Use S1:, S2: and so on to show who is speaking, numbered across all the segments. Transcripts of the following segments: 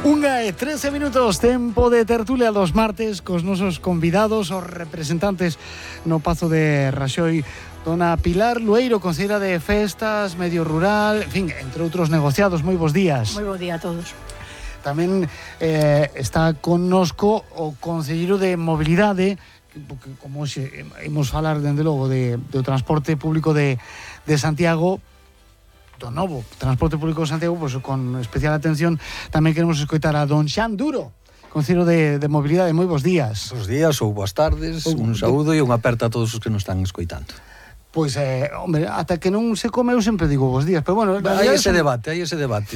S1: 1:13 minutos, tempo de tertulia dos martes cos nosos convidados, os representantes no Pazo de Raxoi, dona Pilar Lueiro, conselleira de Festas, Medio Rural, en fin, entre outros negociados. Moi bons días.
S2: Moi bo día a todos.
S1: Tamén está connosco o conselleiro de Mobilidade, porque como hoxe imos falar, dende logo, do transporte público de Santiago, do novo transporte público de Santiago, pues, con especial atención tamén queremos escoitar a don Xan Duro, conselleiro de Mobilidade. Moi bons días.
S3: Bos días ou boas tardes, un saúdo e unha aperta a todos os que nos están escoitando.
S1: Pois, hombre, ata que non se come eu sempre digo bos días, pero bueno...
S3: Hai ese debate,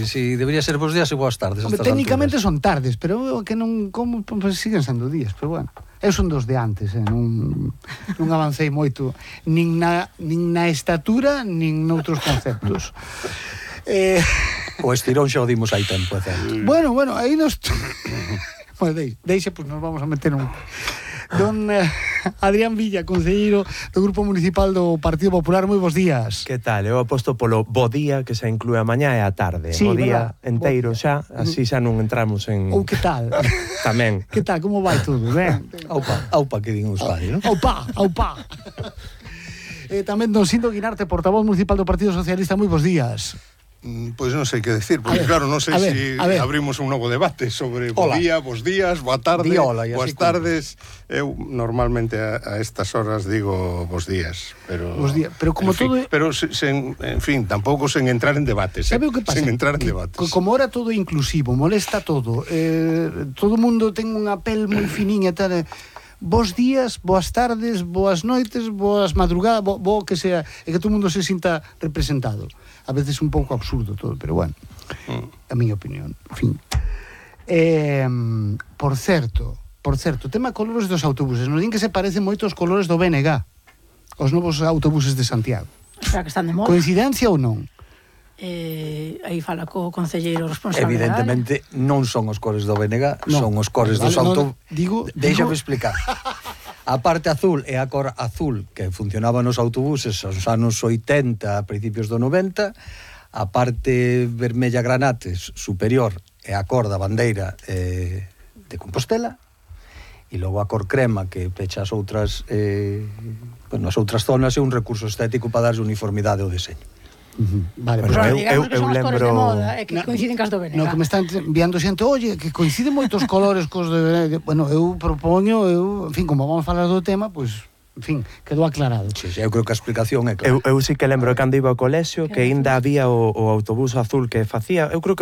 S3: si debería ser bos días e boas tardes.
S1: Hombre, técnicamente son tardes, pero que non como, pues, siguen sendo días, pero bueno. Eu son dos de antes, non avancei moito, nin na estatura, nin noutros conceptos.
S3: O estirón xa o dimos hai tempo, é certo.
S1: Bueno, aí nos... Bueno, deixe, pues nos vamos a meter un... Don Adrián Villa, conselleiro do Grupo Municipal do Partido Popular, moi bos días.
S4: Que tal? Eu aposto polo bo día, que se inclúe a mañá e a tarde.
S1: Sí,
S4: o día
S1: verdad,
S4: enteiro xa, así xa non entramos en...
S1: Ou que tal?
S4: Tamén.
S1: Que tal? Como vai todo? Ben?
S3: Aupa que din os pais, non?
S1: Aupa. Tamén don Sindo Guinarte, portavoz municipal do Partido Socialista, moi bos días.
S5: Pois non sei que decir, porque claro, non sei se abrimos un novo debate sobre bo día, bos días, boa tarde, boas tardes. Eu normalmente a estas horas digo bos días, pero
S1: como todo,
S5: pero en fin, tampouco sen entrar en debates,
S1: sabe o que pasa?
S5: Sen entrar en debates.
S1: Como ahora todo é inclusivo, molesta todo. Todo o mundo ten unha pel moi finiña e tal. Bos días, boas tardes, boas noites, boas madrugadas, bo que sea, e que todo o mundo se sinta representado. A veces un pouco absurdo todo, pero bueno, a miña opinión, en fin. Por certo, tema colores dos autobuses, nos din que se parecen moito os colores do BNG, os novos autobuses de Santiago.
S2: O sea, que están de moda.
S1: Coincidencia ou non?
S2: Aí fala co conselleiro responsable.
S3: Evidentemente non son os cores do BNG, son os cores dos autobuses. Déixame explicar. A parte azul é a cor azul que funcionaba nos autobuses aos anos 80, a principios do 90. A parte vermella granates superior é a cor da bandeira de Compostela. E logo a cor crema que pecha as outras as outras zonas é un recurso estético para darlle uniformidade ao deseño.
S1: Vale,
S2: pero digamos que son as cores de moda, que coinciden cas do BNG.
S1: No, que me están enviando xente, oye, que coinciden moitos colores cos de BNG. Bueno, eu propoño, en fin, como vamos falar do tema, pois, en fin, quedou aclarado.
S3: Sí, eu creo que a explicación é clara.
S4: Eu sí que lembro cando iba ao colexio que aínda había o autobús azul que facía, eu creo que